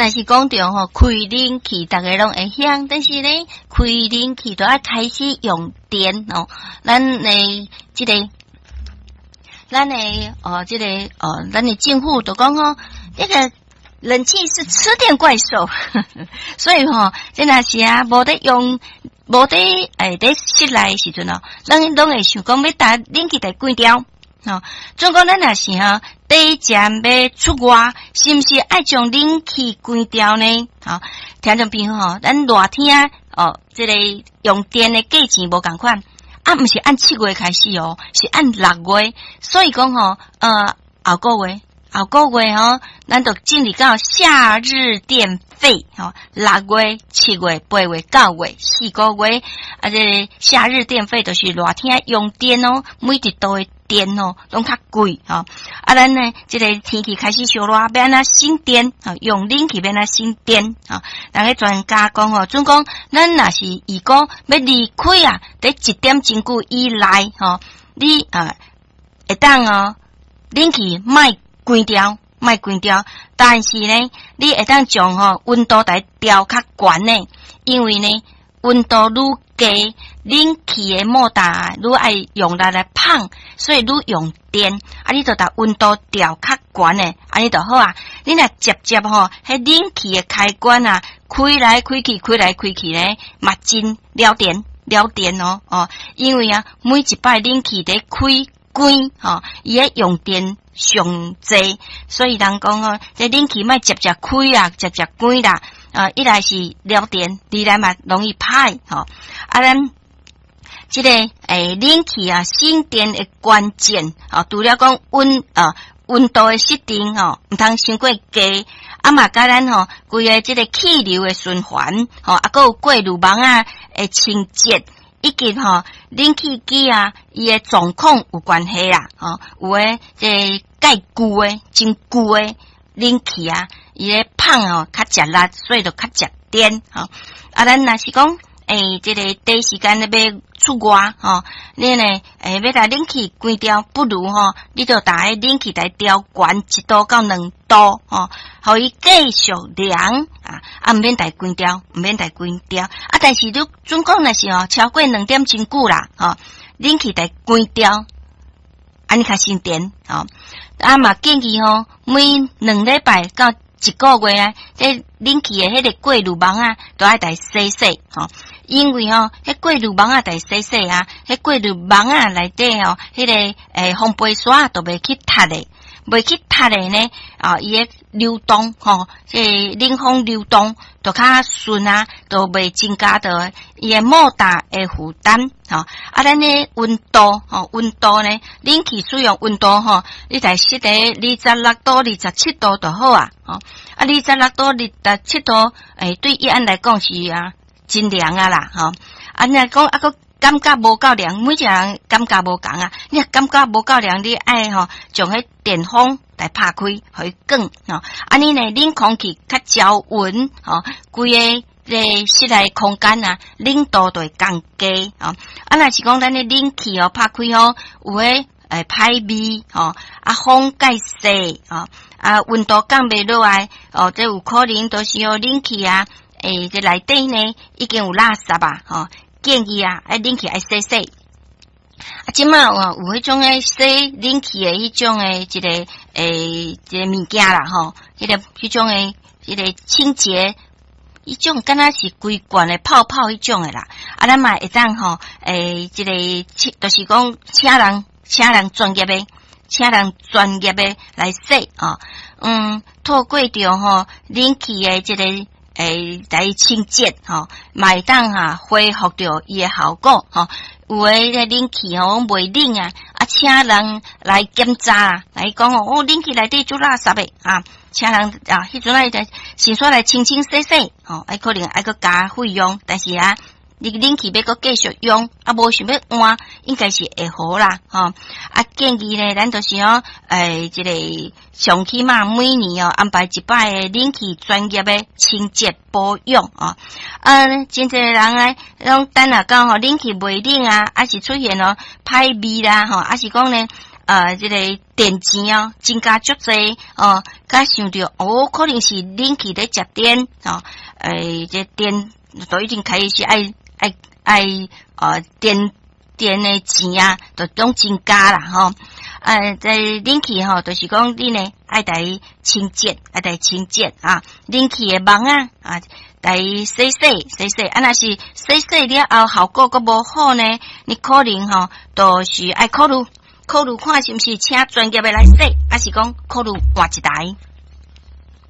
若是講著吼，開冷氣，逐家攏會曉，但是呢，開冷氣都愛開始用電哦。咱的這个，咱的哦，這个哦，咱的政府都講吼，這個冷氣是吃電怪獸，所以吼，這若是啊，無咧用，無咧佇室內時陣哦，咱攏會想講欲共冷氣共關掉。吼，總講咱若是吼，短暫欲出外，是毋是愛將冷氣關掉呢？吼，聽眾朋友吼，咱熱天哦，這个用電的價錢無仝款，啊，毋是按7月開始哦，是按6月，所以講吼，後個月，後個月吼，咱就進入到夏日電費，吼，6月、7月、8月、9月，4個月，啊，這个夏日電費就是熱天用電哦，每一度的電哦，攏較貴吼。啊，咱呢，這个天氣開始燒熱，欲按怎省電？吼，用冷氣欲按怎省電？吼，人个專家講吼，準講咱若是如果欲離開啊，佇一點鐘久以內吼，你啊會當哦，冷氣莫關掉，莫關掉，但是呢，你會當將吼溫度來調較懸的，因為呢，溫度愈低，冷氣的摩打愈愛用力來膨，所以愈用電。啊，你就共溫度調較懸的，按呢就好啊。你若捷捷吼，彼冷氣的開關啊，開來開去，開來開去咧，嘛真了電了電哦哦，因為啊，每一擺冷氣佇開關吼，伊咧用電上濟，所以人講吼，這冷氣莫捷捷開啊，捷捷關啦。啊，一來是了電，二來嘛容易歹吼。啊，咱這個冷氣啊，省電的關鍵啊，除了講溫度的設定吼，毋通傷過低，啊嘛佮咱吼規个這个氣流的循環吼，啊，閣有過濾網仔的清潔，以及吼冷氣機啊，伊的狀況有關係啦，吼，有的這個蓋舊的、真舊的冷氣啊，伊咧膨吼較食力，所以就較食電吼。啊，咱若是講，這个短時間咧欲出外吼，你呢，欲共冷氣關掉，不如吼，你就共彼冷氣來調懸1度到2度吼，予伊繼續涼啊，啊，毋免共關掉，毋免共關掉。啊，但是你準講若是吼超過2點真久啦，吼，冷氣共關掉，按呢較省電吼。啊嘛建議吼，每2禮拜到一個月啊，這冷氣的彼个過濾網仔，都愛共洗洗吼。因為吼，彼過濾網仔共洗洗啊，彼過濾網仔內底吼，彼个風飛沙都袂去塞的，袂去塞的呢，啊，伊的流動吼，這個冷風流動就較順啊，就袂增加著伊的摩打的負擔吼。啊，咱的溫度吼，溫度呢，冷氣使用溫度吼，你共設佇26度、27度就好啊。吼，啊，26度、27度，對一般來講是啊，真涼啊啦，吼。啊，若講啊，閣感覺無夠涼，每一個人感覺無仝啊。你若感覺無夠涼，你愛吼將彼電風來拍開，予伊轉吼。按呢呢，冷空氣較均勻吼，規個這個室內空間啊，冷度就會降低吼。啊，若是講咱的冷氣哦拍開吼，有彼歹味吼，啊風蓋細吼，啊溫度降袂落來哦，這有可能都是哦冷氣啊，這內底呢已經有垃圾啊，吼。建議啊，愛冷氣愛洗洗。啊，這馬有彼種的洗冷氣的彼種的一個物件啦，吼，彼種的一個清潔，彼種敢若是規罐的泡泡彼種的啦。啊，咱嘛會當吼，這个就是講請人專業的，請人專業的來洗吼。透過著吼冷氣的這个來清潔吼，嘛會當哈恢復著伊的效果吼。有的這冷氣吼袂冷啊，啊，請人來檢查，來講哦，哦，冷氣內底足垃圾的啊，請人啊，彼陣仔先煞來清清洗洗吼，愛可能愛閣加費用，但是啊，你冷氣欲閣繼續用，啊，無想欲換，應該是會好啦，吼。啊，建議呢，咱就是哦，這个上起碼每年哦安排一擺的冷氣專業的清潔保養哦。啊，真濟人啊，攏等啊到吼冷氣袂冷啊，抑是出現哦歹味啦，吼，抑是講呢，這个電錢哦，增加足濟哦，才想著哦，可能是冷氣咧食電哦，這電都已經開始愛電的錢啊，都攏增加啦吼。這冷氣吼，就是講你呢愛共清潔，愛共清潔啊，冷氣的網仔啊，共洗洗洗洗，啊，若是洗洗了後效果閣無好呢，你可能吼，就是愛考慮考慮看是毋是請專業的來洗，抑是講考慮換一台。